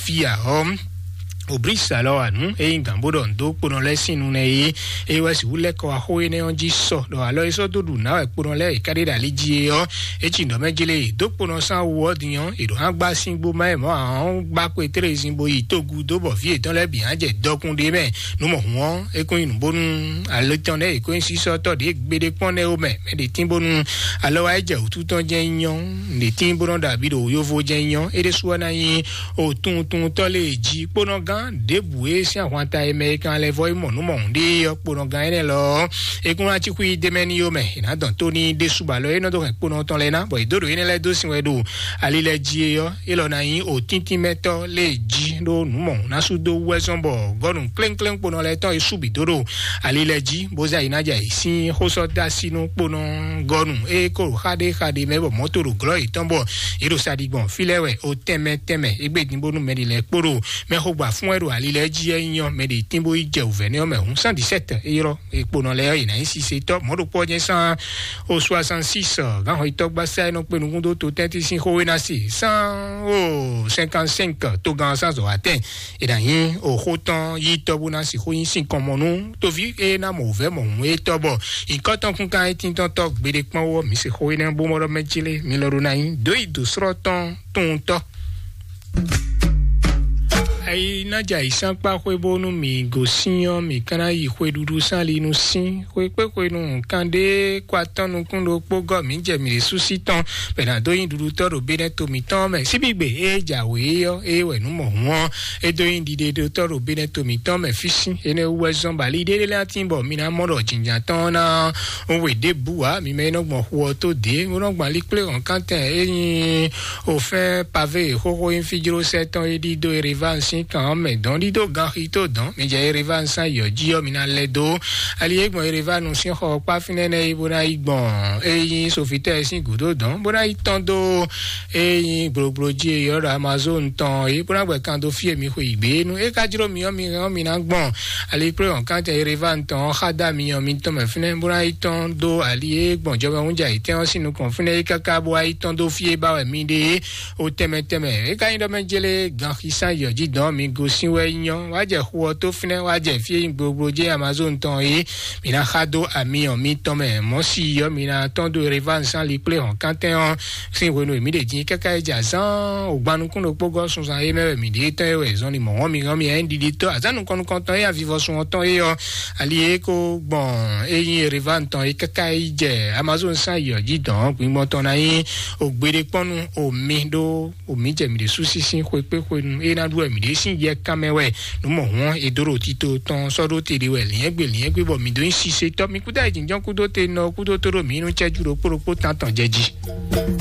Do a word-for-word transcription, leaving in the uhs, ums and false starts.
fia ɔ́, Oblísalɔ anu e nyí gǎn bó ɖɔ nǔ dó kponɔ lɛ́ɛ sín nu nɛ́ é, é wɛ sixú lɛ́ kɔ wá xó énɛ́ ɔ́ jí sɔ ɖɔ alɔ e sɔ́ dó ɖu nǎ wɛ kponɔ lɛ́ɛ e ka ɖe ɖo ali jí é ɔ́, é ci nǔ ɖɔ mɛ jlé e dó kponɔ sín awu ɔ́ din ɔ́, è ɖǒ hán gbá síngbó má ɛ mɔ̌ ǎ ɔ́, gbá kwetrezin bó yi tógú dó bɔ vǐ yětɔn lɛ́ɛ bǐ hán jɛ dɔkun ɖé mɛ. Nǔ mɔ̌hun ɔ́, é kún nyí nǔ bónú alɔ tɔn lɛ́ɛ e kó nyí sísɔ́tɔ́ ɖě gbeɖé kpɔ́n nɛ́ ó mɛ. Mɛ ɖě tín bónú alɔ wá é jɛ wǔtu tɔn jɛ́n nyí ɔ́, ɖě tín bó nɔ́ ɖo abǐ ɖo yovo jɛ́n nyí ɔ́, é ɖésú ɔ́ ná nyí o tunwuntunwuntɔ́ lé jí kponɔgán ɖěbǔ e sín ahwanta e mɛ e kan lɛ́ vɔ é mɔ nǔ mɔ̌hun ɖe ɔ́, kponɔgán énɛ́ lɔ ɔ́, é kún ná cí xwí d'é mɛ n'i ó mɛ. È nǎ dɔn tó n'i ɖésú ba lɔ é nɔ dó hɛn kponɔ tɔn lɛ́ɛ ná, bɔ è dó ɖo énɛ́ lɛ́ɛ dó sin wɛ ɖo ali lɛ́ɛ jí é ɔ́, é lɔ ná nyí o tíntín mɛtɔ́ lé jí ɖó nǔ mɔ̌hun ná sú dó wú wɛ zɔ́n bɔ gɔ́nu klénklénkponɔ lɛ́ɛ tɔn e sú bǐ dó ɖo ali lɛ́ɛ jí, bó zá yi ná jɛ ayǐ sín xósɔ́dásínú kponɔ gɔ́nu e ko ɖo xá ɖé xá ɖé mɛ bɔ mɔ̌ to ɖo glɔ́ yětɔn bɔ yě ɖo sa ɖi gbɔn fí lɛ́ɛ wɛ o tɛnmɛ tɛnmɛ égbé din bónú mɛ ɖi lɛ́ɛ kpó ɖo mɛ xo gbɔ afún wɛ ɖo ali lɛ́ɛ jí é nyɔ mɛ ɖi tín bó yi jɛ wǔvɛ́ nɛ́ ɔ́ mɛ hǔn cent dix-sept é ylɔ́ e kponɔ lɛ́ɛ ɔ́ yě ná nyí sisitɔ́ mɔ̌ ɖokpó ɔ́ jɛ́n sán o soixante-six gǎnxɔyítɔ́ gbásá e nɔ kpe nukún dó to tɛ́ntin sín xó é ná se cent o cinquante-cinq togán sán zɔ̌ atɛn. È nǎ nyí oxó tɔn yí tɔ́ bó ná sixú nyí sín kɔn mɔ nú toví e ná mɔ wǔvɛ́ mɔ hǔn é tɔ́ bɔ nyǐkɔ tɔn kún kan é tíntɔ́n tɔ́ gbeɖé kpɔ́n wú ɔ́, mǐ se xó énɛ́ bó mɔ ɖɔ mɛ jí lé mi lɔ ɖó ná nyí dǒ yi dǒ slɔ́ tɔn tuntɔ́. Ayi ná jɛ ayǐsánkpá xwé bónú mǐ gosín ɔ́, mǐ ka ná yi xweɖuɖu sín ali nú sín xwe kpé xwe nú nǔkan ɖé kó atɔ́ nukún ɖokpó gɔ́ mǐ jɛ mǐ ɖésú sí tɔn bɔ è nǎ dó nyí ɖuɖutɔ́ ɖo bénɛ́ to mǐtɔn mɛ. Síbígbe e jǎwe é ɔ́, é wɛ nǔ mɔ̌hun ɔ́, é dó nyí ɖiɖeɖotɔ́ ɖo bénɛ́ to mǐtɔn mɛ fí sín. Énɛ́ wú wɛ zɔ́n bɔ ali ɖé lɛ́ɛ tín bɔ mi ná mɔ ɖɔ jǐnjǎn tɔn ná we ɖěbǔ ǎ. Mi mɛ e nɔ gbɔn xu ɔ́ tó dě, bó nɔ gbɔn ali kplé hɔ̌nkántɛn e nyí òfɛ́n pavé e xóxó nyí fíjlósɛ́ tɔn e ɖídó Ereván sín kan ɔ́ mɛ dɔn ɖídó ganxi tó dɔn. Mi jɛ Ereván sín ayǐ ɔ́ jí ɔ́, mi ná lɛ́ dó ali e gbɔn Ereván sín xɔ ɔ́ kpá fínɛ́ nɛ́ é bó ná yi gbɔn e nyí Sofitɛ́ɛ sín gǔdo dɔn, bó ná yi tɔ́n dó e nyí gblogblo jí e ylɔ́ ɖɔ Amazon tɔn é, bó ná gbɛ kan dó fí e mi xwe yi gbě é nu. É ka jló mi ɔ́, mi hɛn ɔ́, mi ná gbɔn ali kplé hɔ̌nkántɛn Ereván tɔn ɔ́ xá dó ami ɔ́ mitɔn mɛ fínɛ́, bó ná yi tɔ́n dó ali e gbɔn jɔmɛhúnja yětɛn ɔ́ sín nukɔn fínɛ́ é káká bó wá yi tɔ́n dó fí e ba wɛ mi ɖe é. O tɛnmɛ tɛnmɛ é ka nyí ɖɔ mɛ jélé ganxisán yɔ̌ jí dɔn mi gosín wɛ nyɔ́, wá jɛ xu ɔ́ tó fínɛ́, wá jɛ fí e nyí gbogbo jɛ Amazon tɔn é. Mi ná xá dó ami ɔ́ mitɔn mɛ mɔ̌ si yɔ́ mi ná tɔ́n dó Ereván sín ali kplé hɔ̌nkántɛn ɔ́ sín hwenu e mǐ ɖe din káká yi jɛ azán ògbannukún ɖokpó gɔ́ sunzan é mɛ wɛ mǐ ɖe tɔn é wɛ zɔnlin mɔ̌ mi hɔn mi ɛn ɖiɖi tɔ́ azán nukɔn nukɔntɔn é avivɔsun ɔ́ tɔn é ɔ́, ali e ko gbɔn é nyí Ereván tɔn é káká yi jɛ Amazon sín ayǐ ɔ́ jí dɔn gbingbɔn tɔn ná nyí ògbéɖékpɔ́nnu omi ɖó omi jɛ mǐ ɖésú sísín xwekpé xwenu é ná ɖu wɛ mǐ ɖě sín yɛ kanmɛ wɛ nǔ mɔ̌hun ɔ́, è dó ɖo tito tɔn sɔ́ ɖó te ɖé wɛ lǐnyɛ́gbe lǐnyɛ́gbe bɔ mǐ dó nyí sisetɔ́ mi kúdó ayǐjínjɔ́n kúdó te nɔ kúdó tó ɖo mǐ nú cɛ́jú ɖokpó ɖokpó tántɔn jɛ jí.